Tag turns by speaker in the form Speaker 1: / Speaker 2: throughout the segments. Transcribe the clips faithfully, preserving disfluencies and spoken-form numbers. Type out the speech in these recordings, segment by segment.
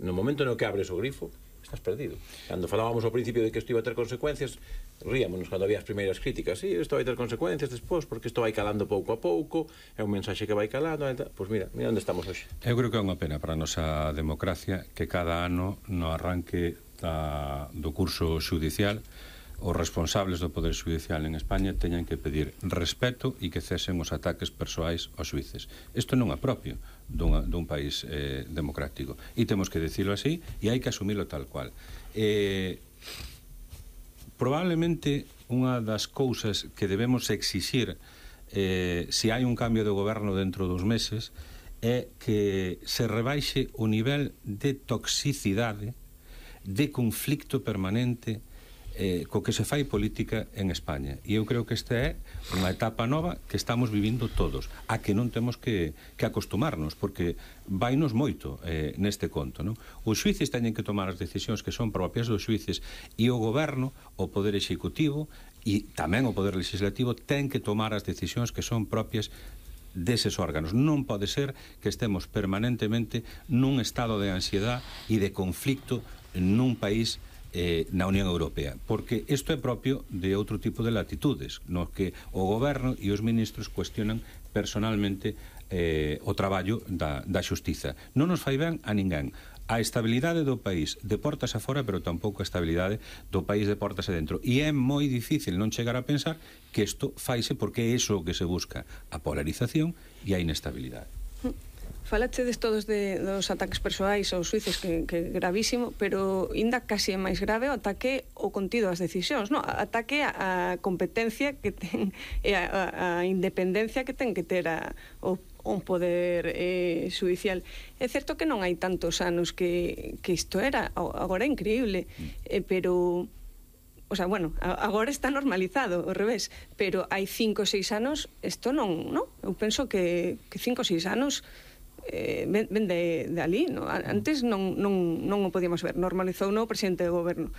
Speaker 1: No momento no que abres o grifo, estás perdido. Cando falábamos ao principio de que isto iba a ter consecuencias, ríamonos cando había as primeiras críticas. Sí, isto vai ter consecuencias despois, porque isto vai calando pouco a pouco, é un mensaxe que vai calando. Pois mira, mira onde estamos hoxe.
Speaker 2: Eu creo que é unha pena para a nosa democracia que cada ano no arranque da, do curso xudicial os responsables do Poder Xudicial en España teñan que pedir respeto e que cesen os ataques persoais aos xuíces. Isto non é propio dun, dun país eh, democrático. E temos que dicilo así e hai que asumilo tal cual. Eh, probablemente unha das cousas que debemos exixir eh, se hai un cambio de goberno dentro dos meses é que se rebaixe o nivel de toxicidade, de conflicto permanente Eh, co que se fai política en España. E eu creo que esta é unha etapa nova que estamos vivindo todos, a que non temos que, que acostumarnos, porque vainos moito eh, neste conto, non? Os xuíces teñen que tomar as decisións que son propias dos xuíces e o goberno, o poder executivo e tamén o poder legislativo ten que tomar as decisións que son propias deses órganos. Non pode ser que estemos permanentemente nun estado de ansiedade e de conflicto nun país Eh, na Unión Europea, porque isto é propio de outro tipo de latitudes, no que o goberno e os ministros cuestionan personalmente eh, o traballo da, da xustiza. Non nos fai ben a ninguén. A estabilidade do país de portas afora, pero tampouco a estabilidade do país de portas adentro. E é moi difícil non chegar a pensar que isto faise porque é iso que se busca, a polarización e a inestabilidade.
Speaker 3: Falachedes todos de, dos ataques persoais aos xuíces, que, que gravísimo, pero ainda casi é máis grave o ataque ao contido das decisións, no? Ataque a, a competencia que ten e a, a, a independencia que ten que ter a, o, un poder eh, judicial. É certo que non hai tantos anos que, que isto era, agora é increíble, eh, pero... O sea, bueno, agora está normalizado, ao revés, pero hai cinco ou seis anos isto non, non? Eu penso que, que cinco ou seis anos eh, ven, ven de, de ali, no? Antes non, non, non o podíamos ver, normalizou no presidente do goberno.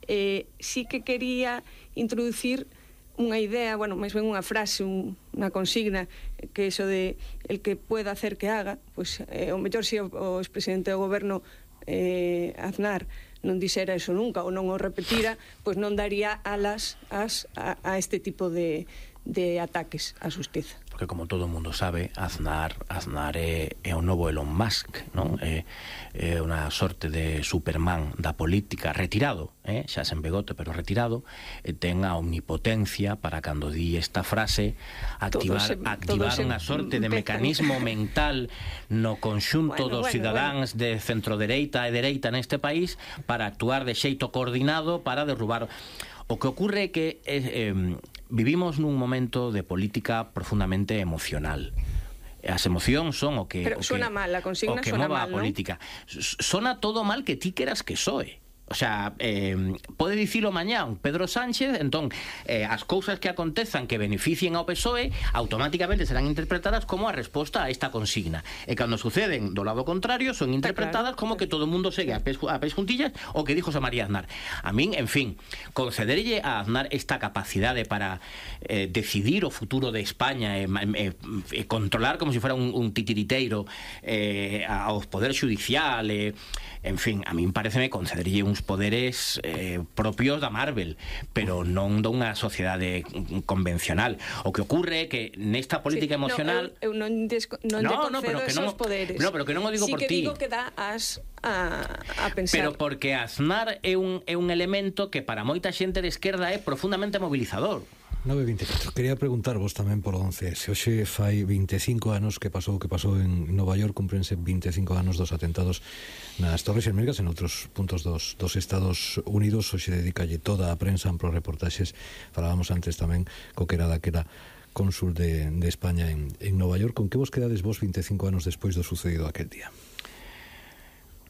Speaker 3: Eh, sí que quería introducir unha idea, bueno, máis ben unha frase, un, unha consigna, que iso de el que pueda hacer que haga, pois pues, eh, o mellor se o, o expresidente do goberno eh, Aznar non dixera eso nunca ou non o repetira, pois non daría alas as, a, a este tipo de, de ataques á xustiza.
Speaker 4: Porque como todo o mundo sabe, Aznar, Aznar é, é o novo Elon Musk, non? É, é unha sorte de Superman da política, retirado, eh? xa sen begote, pero retirado, e ten a omnipotencia para cando di esta frase activar, se, activar unha sorte de mecanismo mental no conxunto bueno, dos bueno, cidadáns bueno. de centrodereita e dereita neste país para actuar de xeito coordinado para derrubar. O que ocurre é que eh, eh, vivimos nun momento de política profundamente emocional. As emocións son o que
Speaker 3: Pero
Speaker 4: o
Speaker 3: suena
Speaker 4: que,
Speaker 3: mal, a consigna
Speaker 4: o que
Speaker 3: suena
Speaker 4: mova
Speaker 3: mal,
Speaker 4: a política. ¿No? Sona todo mal que ti queras que soe. O sea, eh, pode dicilo mañán Pedro Sánchez, entón eh, as cousas que acontezan que beneficien ao P S O E automáticamente serán interpretadas como a resposta a esta consigna, e cando suceden do lado contrario son interpretadas claro. como que todo o mundo segue a pés, a pés juntillas o que dijo José María Aznar. A min, en fin, concederlle a Aznar esta capacidade para eh, decidir o futuro de España e eh, eh, controlar como se si fuera un, un titiriteiro eh, aos poder xudicial, eh, en fin, a min pareceme concederlle uns poderes eh, propios da Marvel, pero non dunha sociedade convencional. O que ocurre é que nesta política sí, emocional
Speaker 3: no, eu, eu non, desco, non no,
Speaker 4: no, pero que
Speaker 3: esos
Speaker 4: non,
Speaker 3: poderes.
Speaker 4: No, pero que non o digo
Speaker 3: sí
Speaker 4: por
Speaker 3: que
Speaker 4: ti.
Speaker 3: Digo que dá as a, a pensar.
Speaker 4: Pero porque Aznar é un, é un elemento que para moita xente de esquerda é profundamente mobilizador.
Speaker 5: nove e vinte e catro. Quería preguntarvos tamén polo once ese. Hoxe fai vinte e cinco anos que pasou o que pasou en Nova York, cumprense vinte e cinco anos dos atentados nas Torres Xemelgas en outros puntos dos, dos Estados Unidos. Hoxe dedicalle toda a prensa, amplos reportaxes. Falábamos antes tamén co que era daquela cónsul de, de España en, en Nova York. Con que vos quedades vos vinte e cinco anos despois do sucedido aquel día?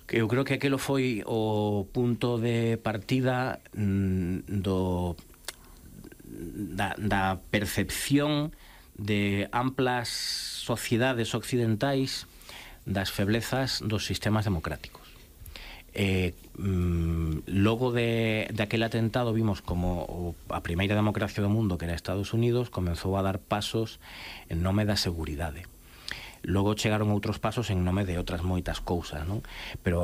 Speaker 4: Eu creo que aquelo foi o punto de partida mm, do Da, da percepción de amplas sociedades occidentais das feblezas dos sistemas democráticos. Eh, mm, logo de, de aquel atentado vimos como o, a primeira democracia do mundo, que era Estados Unidos, comenzou a dar pasos en nome da seguridade. Logo chegaron outros pasos en nome de outras moitas cousas, non? Pero